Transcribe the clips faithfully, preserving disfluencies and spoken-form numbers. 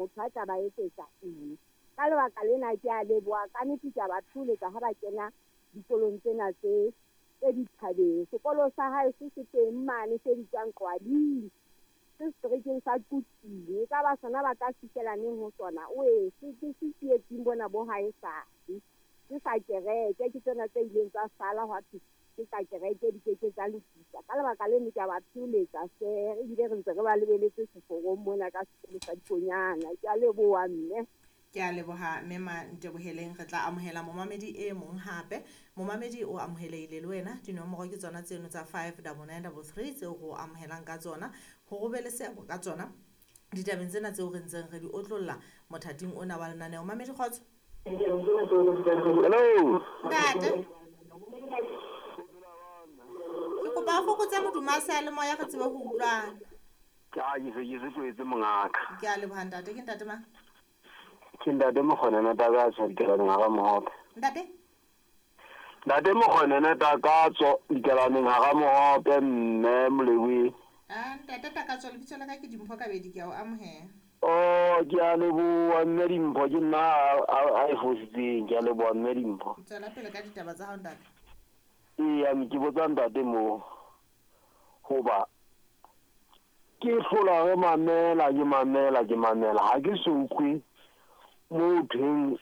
Motho a tla ba etsetsa eng? Ka lebaka lena ke a leboha ka nnete, ke a ba thoholetsa ha ba kena dikolong tsena tse tse dithabeng. Sekolo sa hae se se teng mane se bitswang Qwaling, se seterekeng sa Quthing. E ka ba sona ba tla fihlela neng ho sona? Oe, se ke se tsietsing bona bo haesale. Ke sa kereke, ke tsena tse ileng tsa sala hwa thwe ke tsa kereke, di keke tsa lokiswa. Ka lebaka leno ke a ba thoholetsa hle, ebile re ntse re ba lebeletse seforong mona ka sekolo sa dikonyana. Ke a leboha mme. Ke a leboha mme Manteboheleng. Re tla amohela momamedi e mong hape. Momamedi o amohelehile le wena. Dinomoro ke tsona tseno tsa five double nine double three tseo re o amohelang ka tsona, hore o be le seabo ka tsona ditabeng tsena tseo re ntseng re di otlolla mothating ona wa lenaneo. Mamedi, kgotso. Hello. Ntate, ke kopa o fokotse modumo wa seyalemoya re tsebe ho utlwana. Ke a ke se ke se tlwaetse mongaka. Ke a leboha ntate. Ke ntate mang? Ke ntate Mokgonene Takatso Dikelaneng hara Mohope. Ntate? Ntate Mokgonene Takatso Dikelaneng hara Mohope, mme Molebohi. Ah, ntate Takatso, lebitso la ka ke Dimpho Kabedi, ke a o amohela. Oh, ke a leboha mme Dimpho, ke nna a a e fositseng, ke a leboha mme Dimpho. Tswela pele ka ditaba tsa hao ntate. Eya, ke botsa ntate moo hoba ke hlola re mamela, ke mamela, ke mamela, ha ke so utlwe mo thweng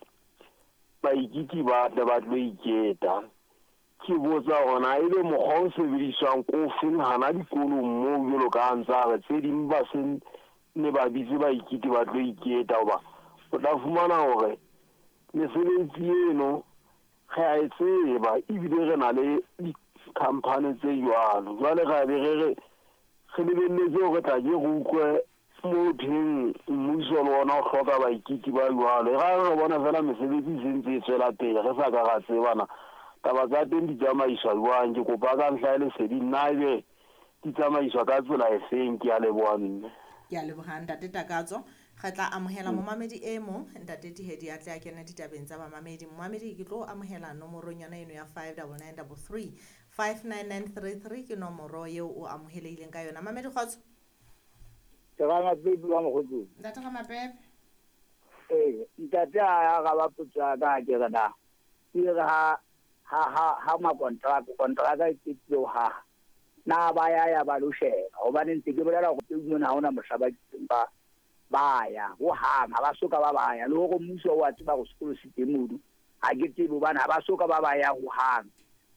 baikiti ba tle ba tlo iketa. Ke botsa hore na ebe mokgwa o sebediswang ko feng hana dikolong moo, jwalo ka ha ntse a re tse ding ba se ne ba bitse baikiti ba tlo iketa, hoba o tla fumana hore mesebetsi eno re a e tseba ebile re na le di-company tse jwalo. Jwale ra be re re re lebelletse hore tla ke re utlwe mo thweng mmuso le ona o hloka baikiti ba jwalo. E ra re bona fela mesebetsi e sentse e tswela pele, re sa ka ra tsebana taba tsa teng di tsamaiswa jwang. Ke kopa ka ntlha ya lesedi nna ebe di tsamaiswa ka tsela e feng. Ke a leboha mme. Ke a leboha ntate Takatso. Re tla amohela momamedi e mong, ntate Tihedi a tle a kene ditabeng tsa bamamedi. Momamedi, ke tlo amohela nomorong yona eno ya five double nine double three, five nine nine three three ke nomoro eo o amohelehileng ka yona. Mamedi, kgotso. Ke Ramapepe wa Mokgotsong. Ntate Ramapepe. Ee, ntate a araba potso ya ka, ke re na ke re ha ha ha ha makontraka kontraka e qetile ho haha, na ba ya ya ba lo sheba? Hobane ntse ke bolela hore teng mona ha hona mohla ba kileng ba ba ya hohang, ha ba soka ba ba ya. Le hore mmuso wa tseba hore sekolo se teng mono, ha ke tsebe hobane ha ba soka ba ba ya hohang.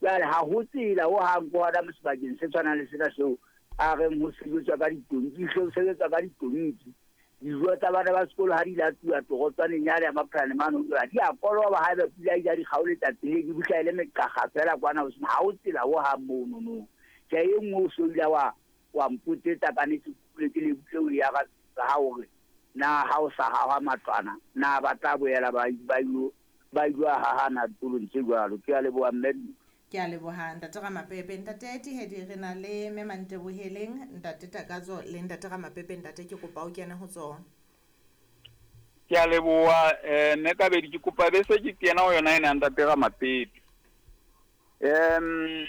Jwale ha ho tsela hohang ko hona mo sebakeng se tshwanang le sena seo a reng ho sebetswa ka ditonki, ho sebetswa ka ditonki. Dijo tsa bana ba sekolo ha di latuwa torotswaneng yane ya Maphane mane, di a koloba haeba pula e ja di kgaoletsa tseleng, di bihla e le meqakga fela kwana ho sena, ha ho tsela hohang mono no. Tjhe, e nngwe o so ile wa wa mpotsetsa ka nnete, ke ke le butle o ya ka ha hore na ha o sa haha matlwana na ba tla boela ba ba ilo ba ilo hahana dikolong tse jwalo. Ke a leboha mme. Ke a leboha ntate Ramapepe. Ntate Tihedi, re na le mme Manteboheleng, ntate Takatso le ntate Ramapepe. Ntate, ke kopa o kene ho tsona. Ke a leboha eh mme Kabedi, ke kopa bese ke kena ho yona ena ntate Ramapepe. Em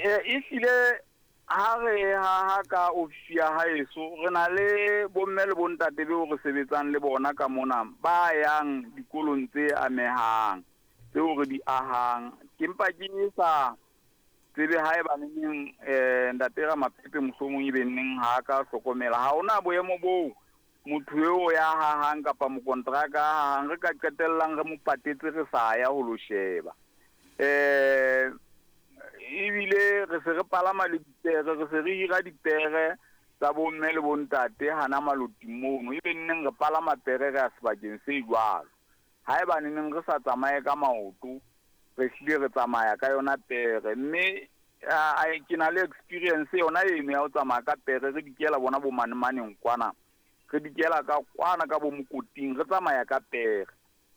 ehlile ha re haha ka ofisi ya haeso, re na le bomme le bontate beo re sebetsang le bona ka mona ba yang dikolong tse amehang tseo re di ahang. Ke mpa ke sa tsebe haeba neneng eh ntate Ramapepe mohlomong ebe neng ha ka hlokomela. Ha hona boemo boo motho eo ya hahang kapa mokontraka hahang re ka qetellang re mo patetse re sa ya ho lo sheba. Eh ebile re se re palama le dipere, re se re hira dipere tsa bomme le bontate hana maloting mono, ebe neng re palama pere re ya sebakeng se jwalo. Haeba neneng re sa tsamaye ka maoto, re hlile re tsamaya ka yona pere. Mme ke na le experience yona eno ya ho tsamaya ka pere, re dikela bona bo manemaneng kwana, re dikela ka kwana ka bo mokoting, re tsamaya ka pere.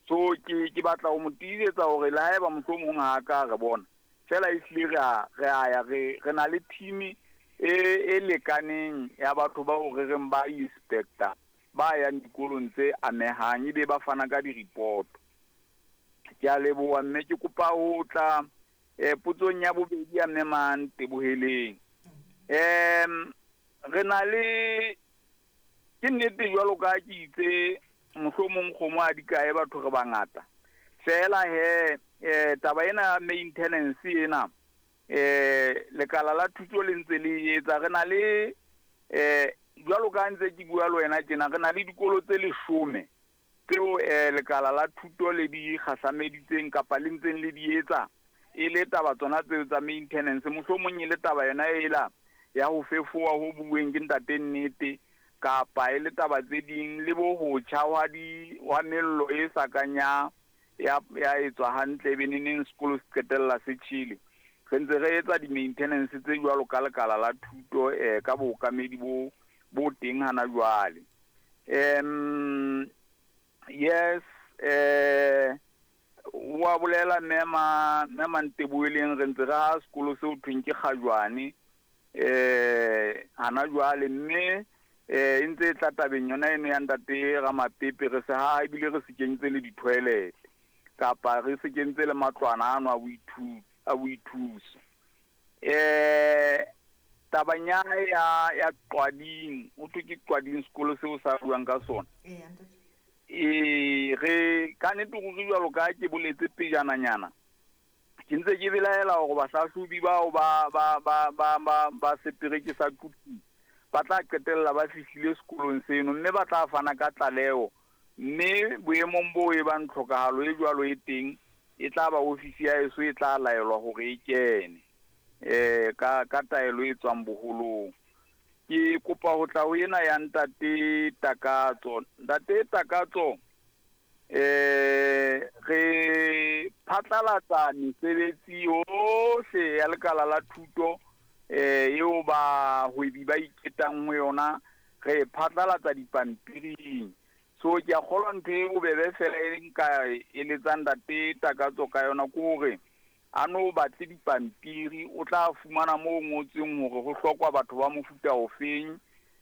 So ke ke batla ho mo tiisetsa hore le haeba mohlomong ha ka re bona fela, ehlile re a re a ya re re na le team e e lekaneng ya batho bao re reng ba inspector ba yang dikolong tse amehang, ebe ba fana ka di-report. Ke a leboha mme ke kopa ho tla eh potsong ya bobedi ya mme Manteboheleng. Em re na le Ke nnete jwalo ka ke itse mohlomong kgomo a di kae batho re bangata. Fela he eh taba ena ya maintenance ena eh lekala la thuto le ntse le etsa re na le eh jwalo ka ntse ke bua le wena tjena re na le dikolo tse leshome tseo eh lekala la thuto le di kgahlameditseng kapa le ntseng le di etsa e le taba tsona tseo tsa maintenance mohlomong e le taba yona ela ya ho fefowa ho bueng ke ntate Nnete kapa e le taba tse ding le bo ho tjha wa di wa mello e sa kanya ya ya etswa hantle be neneng sekolo se qetella se tjhele. Re ntse re etsa di-maintenance tse jwalo ka lekala la thuto eh ka bookamedi bo bo teng hana jwale. Em yes eh wa bolela mema mema Nteboeleng re ntse re ha sekolo seo thweng ke Kgajwane eh hana jwale mme eh e ntse e tla tabeng yona eno ya ntate Ramapepe re se ha ebile re se kentse le di-toilet kapa re se kentse le matlwana ano a boithuto a boithuso. Eh tabanya ya ya Qwading o thwe ke Qwading sekolo seo sa buang ka sona. Ee, ntate. E re ka nnete ruri jwalo ka ke boletse pejananyana ke ntse ke belaela hore bahlahlobi bao ba ba ba ba ba ba setereke sa Quthing ba tla qetella ba fihlile sekolong seno mme ba tla fana ka tlaleho mme boemong bo e bang tlhokahalo e jwalo e teng e tla ba ofisi ya eso e tla laelwa hore e kene eh ka ka taelo e tswang boholong. Ke kopa ho tla ho ena ya ntate Takatso. Ntate Takatso eh re phatlalatsa mesebetsi yohle ya lekala la thuto eh eo bahwebi ba iketang ho yona re phatlalatsa dipampiring. So ke a kgolwa ntho e bobebe fela e nka eletsang ntate Takatso ka yona ke hore a no batle dipampiri o tla fumana moo ngotsweng hore ho hlokwa batho ba mofuta ofeng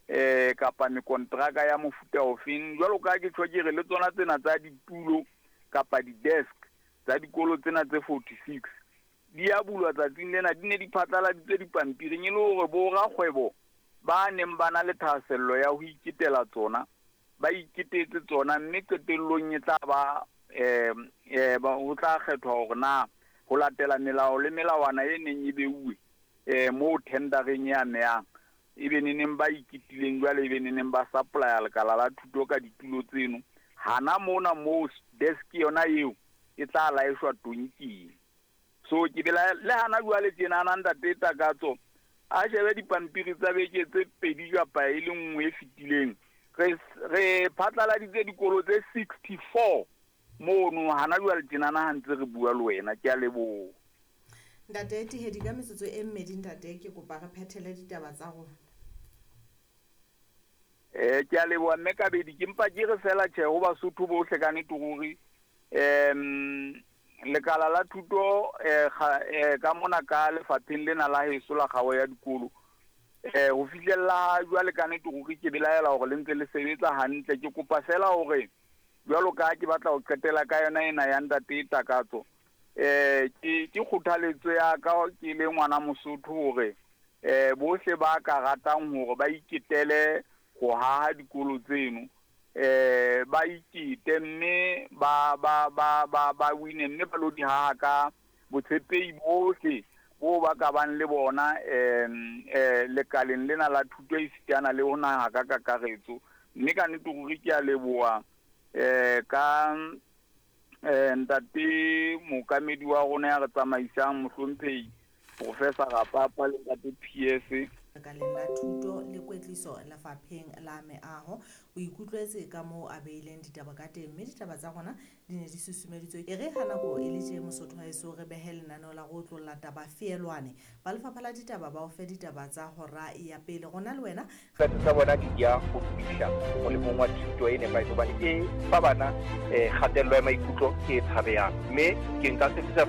eh kapa mekontraka ya mofuta ofeng. Jwalo ka ke tjho ke re le tsona tsena tsa ditulo kapa di-desk tsa dikolo tsena tse forty-six di a bulwa tsatsing lena di ne di phatlaladitswe dipampiring e le hore bo rakgwebo ba neng ba na le thahasello ya ho iketela tsona ba iketetse tsona mme qetellong e tla ba eh eh ba ho tla kgethwa hore na ho latela melao le melawana e neng e beuwe eh mo tendereng ya meyang e be neneng ba iketileng jwale e be neneng ba supplya lekala la thuto ka ditulo tseno hana mona mo desk yona eo e tla laeshwa tonking. So ke bela le hana jwale tjena na ntate Takatso a shebe dipampiri tsa beke tse pedi kapa e le nngwe e fetileng re re phatlaladitse dikolo tse sixty-four mono hana jwale tjena na ha ntse re bua le wena. Ke a leboha Ntate Tihedi ka metsotso e mmedi ntate ke kopa re phethele ditaba tsa rona. Eh ke a leboha mme Kabedi ke mpa ke re fela tjhe ho Basotho bohle ka nnete ruri em lekala la thuto eh ka mona ka lefapheng lena la heso la kgao ya dikolo eh ho fihlella jwale ka nnete ruri ke belaela hore le ntse le sebetsa hantle. Ke kopa fela hore jwalo ka ke batla ho qetela ka yona ena ya ntate Takatso eh ke ke kgothaletso ya ka ke le ngwana Mosotho hore eh bohle ba ka ratang hore ba iketele ho haha dikolo tseno eh ba ikete mme ba ba ba ba ba wine mme ba lo di haha ka botshepehi bohle bo ba ka bang le bona em eh lekaleng lena la thuto e sitana le ho naha ka kakaretso. Mme ka nnete ruri ke a leboha eh ka eh ntate mookamedi wa rona ya re tsamaisang mohlomphehi Professor Rapapa le ntate P S lekaleng la thuto le kwetliso lefapheng la meaho. O ikutlwetse ka moo a beileng ditaba ka teng mme ditaba tsa rona di ne di susumeditswe e re ha nako e le tje Mosotho haeso re behe lenaneo la go otlolla taba feelwane. Ba lefapha la ditaba ba o fe ditaba tsa hora ya pele rona le wena tsa tsa bona di ya go fihla molemong wa thuto e nepahetseng hobane e fa bana eh kgatello ya maikutlo e tshabehang mme ke nka sebedisa